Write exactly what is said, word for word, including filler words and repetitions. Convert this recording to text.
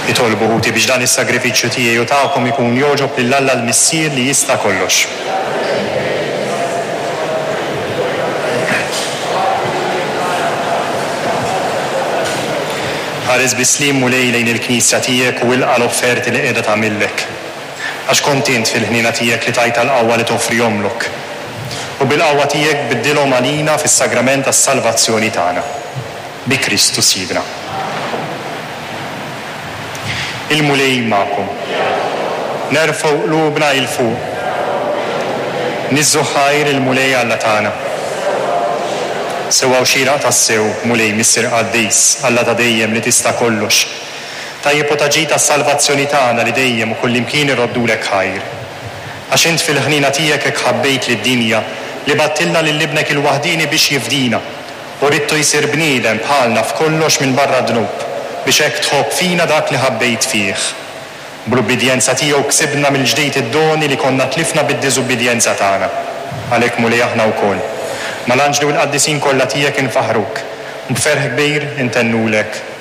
Itolbu ħuti biex dan is-sagrifiċċju tiegħi u tagħkom ikun jogħġob lil Alla l-Missier li jista' kollox. Ħares bis-sliem Mulej lejn il-Knisja tiegħek u ilqa' l-offerti li qiegħda tagħmillek. Għax kont int fil-ħniena tiegħek li tajtha l-qawwa li toffrihomlok. U bil-qawwa tiegħek biddilhom għalina fis-sagrament tas-salvazzjoni tagħna. Bi Kristu Sidna. Il-Mulej magħkom. Nerfgħu qlubna 'il fuq. Niżżu ħajr il-Mulej Alla tagħna. Sewwa u xieraq tassew, Mulej Missier Qaddis, Alla ta' dejjem li tista' kollox. Tajjeb u ta' ġid għas-salvazzjoni tagħna li dejjem u kullimkien iroddulek ħajr. Għax int fil-ħniena tiegħek hekk ħabbejt lid-dinja li bgħattilna lil ibnek il-waħdieni biex jifdina u ridtu jsir bniedem bħalna f'kollox minn barra d-dnub biex hekk tħobb fina dak li ħabbejt fih. Bl-ubbidjenza tiegħu ksibna mill-ġdid id-doni li konna tlifna bid-diżubbidjenza tagħna. Għalhekk Mulej aħna wkoll. Mal-anġli u l-qaddisin kollha tiegħek infaħruk. B'ferħ kbir intennulek